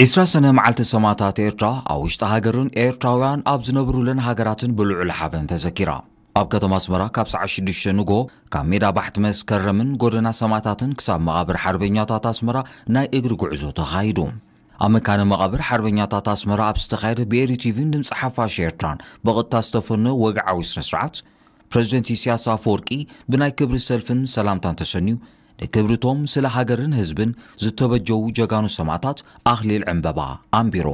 ዒስራ ሰነ መዓልቲ ሰማእታት ኤርትራ ኣብ ውሽጢ ሃገርን ኤርትራውያን ኣብ ዝነብሩለን ሃገራትን ብልዑል ሓበን ተዘኪራ። ኣብ ከተማ ኣስመራ ካብ ሰዓት ሽዱሽተ ንግሆ ካብ ሜዳ ባሕቲ መስከረምን ጎደና ሰማእታትን ክሳብ መቓብር ሓርበኛታት ኣስመራ ናይ እግሪ ጉዕዞ ተኻይዱ። ኣብ መካነ መቓብር ሓርበኛታት ኣስመራ ኣብ ዝተኻየደ ብኤሪ ቲቪን ድምፂ ሓፋሽ ኤርትራን ብቐጥታ ዝተፈነወ ወግዓዊ ስነ ስርዓት፣ ፕረዚደንት ኢሳያስ ኣፈወርቂ ብናይ ክብሪ ሰልፍን ሰላምታን ተሰንዩ፣ ንክብርቶም ስለ ሃገርን ህዝብን ዝተበጀዉ ጀጋኑ ሰማእታት ኣኽሊል ዕምበባ ኣንቢሩ።